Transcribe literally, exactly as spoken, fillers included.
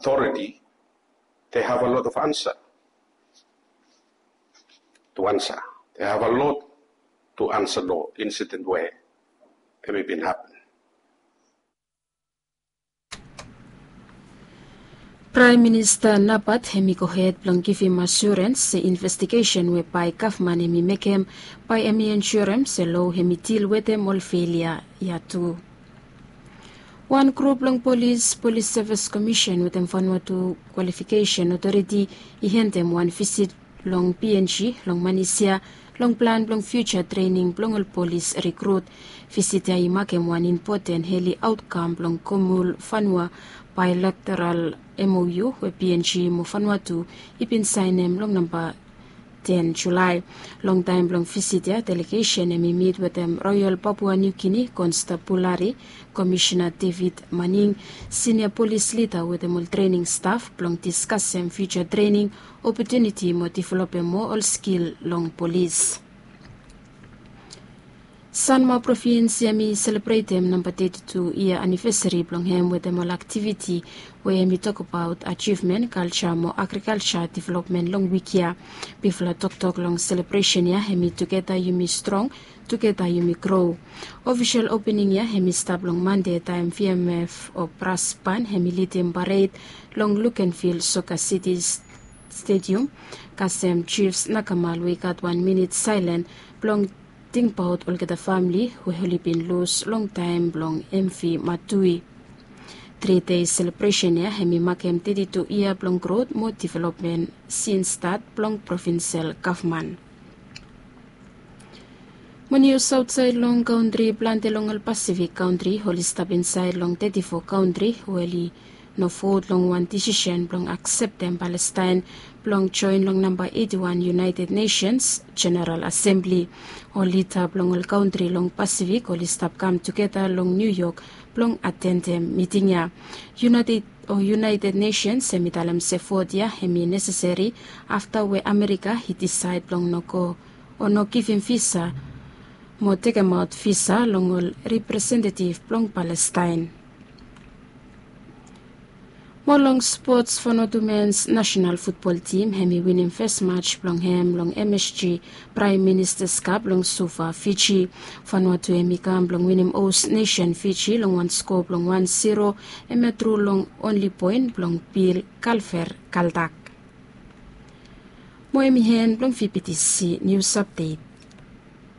authority, they have a lot of answer to answer. They have a lot to answer lo incident we hemi bin happen. Praem Minista Napat hemi gohed blong givim asurens se investigesen we bae gavman hemi mekem bae hemi ensurem se lo hemi dil wetem ol felia ya tu. Wan grup blong polis, Polis Sevis Komisen wetem Vanuatu Kwalifikesen Otoriti i hendem wan visit long PNG long Manis ya long plan blong fiuja trening blong ol polis rikrut. Visit ya i makem wan impoten heli aotkam blong Komul Vanua bailateral MOU we PNG mo Vanuatu i bin saenem long namba ten Julae. Long taem blong visit ya delegesen hemi mit wetem Royal Papua New Guinea Konstabulari Komisena David Maning, sinia polis lida wetem ol trening staf blong diskasem fiuja trening opotuniti mo developem moa ol skil long polis. Sanma provins ya mi selebretem namba teti tu yia anivesari blong hem wetem ol aktiviti we hem i tokbaot ajivmen kalja mo agrikalja developmen long wik ya. Bifala toktok long selebresen ya hem i tugeta yumi strong, tugeta yumi gro. Ofisel opening ya hem i stap long Mande taem VMF o Brasban hem i lidim pared long Lukenvil Soka City Stadium. Kasem Chiefs Nakamal we i gat wan minit saelen blong tingbaot olgeta famili we oli bin lus long taem blong MV Matui. Tri dei selebresen ya hem i makem teti tu yia blong grot mo developmen sins stat blong provinsel gavman. Mo nius aotsaed long kantri, plante long ol Pasifik kantri oli stap insaed long teti fo kantri we oli no vot long wan disisen blong akseptem Palestaen blong joen long namba eti wan United Nations Jeneral Asembli. Ol lida blong ol kantri long Pasifik oli stap kam tugeta long Niu Yok blong atendem miting ya. United o United Nations hem i talem se vot ya hem i nesesari afta we Amerika i disaed blong no go o no givim visa mo tekemaot visa long ol representetiv blong Palestaen. Mo long spots, Vanuatu mens nasenal futbol tim hem i winim fes maj blong hem long MSG Praem Ministas Kap long Suva, Fiji. Vanuatu hem i kam blong winim hos nesen Fiji long wan sko blong wan siro, hem ya tru long onli poen blong Bil Kalver Kaldak. Mo hem i hen blong VBTC nius apdet.